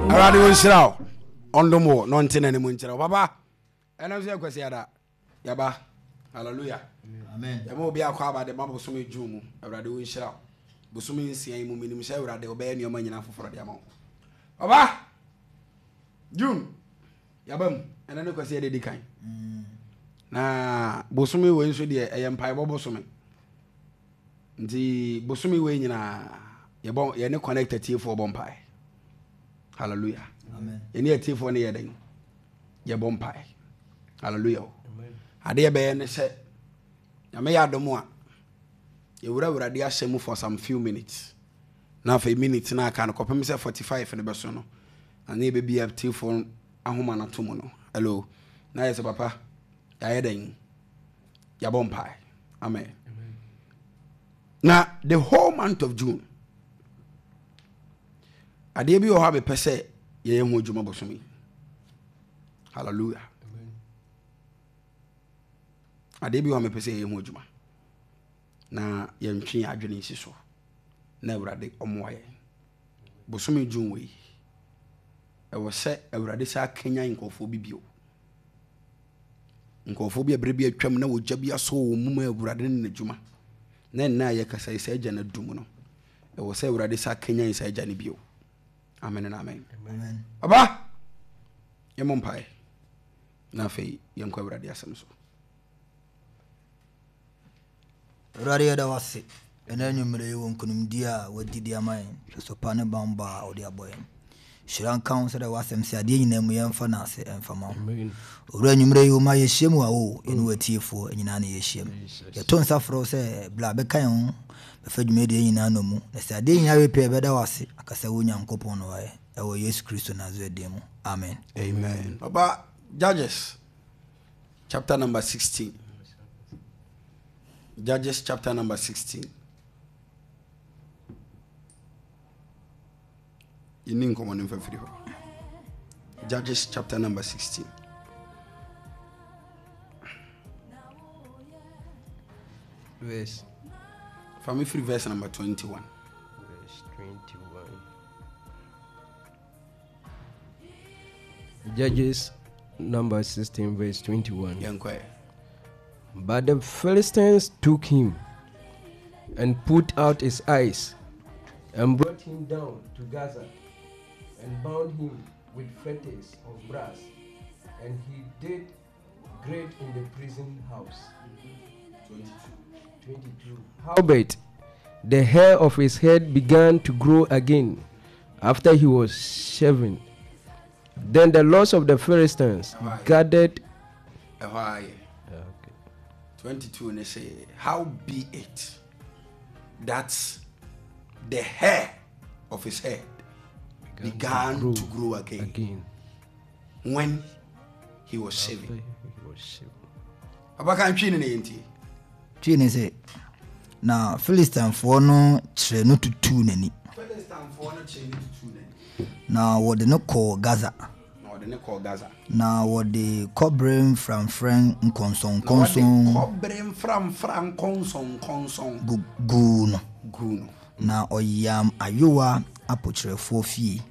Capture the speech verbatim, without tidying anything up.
Awurade wɔnhyira wo, ɔndom wo na ɔnte n'anim nkyerɛ wo. Papa, ɛno nso yɛ Kwasiada. Yɛba. Hallelujah. Yɛma obi akɔ aba de ma bosome June mu. Awurade wɔnhyira wo. Bosome nsia yi mu, menim sɛ Awurade wobɛyɛ nneɔma nyina foforɔ de ama wo. Papa, June yɛba mu. Ɛno ne Kwasiada di kan. Na bosome wei nso deɛ, ɛyɛ mpaebɔ bosome. Nti bosome wei nyinaa yɛbɔ, yɛne Connect atiefoɔ bɔ mpae. Hallelujah. Yɛne atiefoɔ no yɛ dɛn? Yɛbɔ mpae. Hallelujah. Adeɛ bɛyɛ ne sɛ Nyame yɛ adom a, yɛwura Awurade ahyɛ mu for some few minutes, na afei minutes no aka no kɔpem sɛ forty-five no bɛso no, na ne yɛbɛbi atiefoɔ ahoma no ato mu no. Hello, na yɛ sɛ papa yɛayɛ dɛn? Yɛabɔ mpae. Amen. Na the whole month of June, adeɛ bi wɔ hɔ a mepɛ sɛ yɛyɛ ho adwuma bosome. Hallelujah. Adeɛ bi wɔ hɔ a mepɛ sɛ yɛyɛ ho adwuma na yɛntwe yɛn adwene nsi so na Awurade ɔmmoa yɛn. Bosome June wei, ɛwɔ sɛ Awurade sɛ akanyan nkurɔfoɔ bi bio, nkurɔfoɔ bi a berɛ bi atwam na wɔgya bi asɔ wɔn mu ma Awurade ne n'adwuma, na nna a yɛkasa yi sɛ agya no adum no, ɛwɔ sɛ Awurade sɛ akanyan saa agya no bio. Amen and amen. Papa, yɛmmɔ mpaeɛ na afei yɛnkɔ Awurade asɛm so. Awurade, yɛda wo ase ɛna anwummerɛ yi wɔ nkonimdie a wadi de ama yɛn, hwɛso pa ne bambɔ a wode abɔ yɛn. Hyira nka wo sɛdeɛ w'asɛm sɛ adeɛ nyinaa mu yɛmfa no ase ɛmfa ma wo. Owura, anwummerɛ yi woma yɛhyia mu a o yɛne w'atiefoɔ nyinaa ne yɛhyia mu. Yɛto nsa frɛ wo sɛ bla bɛka yɛn ho bɛfa dwumadie nyinaa no mu, na sɛ adeɛ nyinaa wie pɛ, yɛbɛda wo ase aka sɛ wo Nyankopɔn no wayɛ ɛwɔ Yesu Kristo Nasaret din mu. Amen. Amen. Papa, Judges chapter number sixteen. Judges chapter number sixteen. Yɛni nkɔmmɔ no mfa firi hɔ. Judges chapter number sixteen. Verse. Fa me firi verse number twenty-one. Verse twenty-one. Judges number sixteen, verse twenty-one. Yɛnkɔɛ. But the Philistines took him and put out his eyes and brought him down to Gaza and bound him with fetters of brass, and he did great in the prison house. twenty-two. Howbeit, the hair of his head began to grow again after he was shaven. Then the lords of the Philistines gathered. Ɛhɔ ayɛ. twenty-two ne sɛ, how be it that the hair of his head began, began to grow again, again when he was shaving. He was shaving. Abakan, twi ne ne yɛntie. Twi ne sɛ, na Philistinefoɔ no kyerɛ no tutuu n'ani. Philistinefoɔ no kyerɛ no tutuu n'ani. Na wɔde no kɔɔ Gaza. Na wɔde ne kɔɔ Gaza. Na wɔde kɔbere mframfran Na wɔde nkɔnsɔnkɔnsɔn kɔbere mframfra nkɔnsɔnkɔnsɔn gu guu no. Guu no. Na ɔyam ayowa apokyerɛfoɔ fie.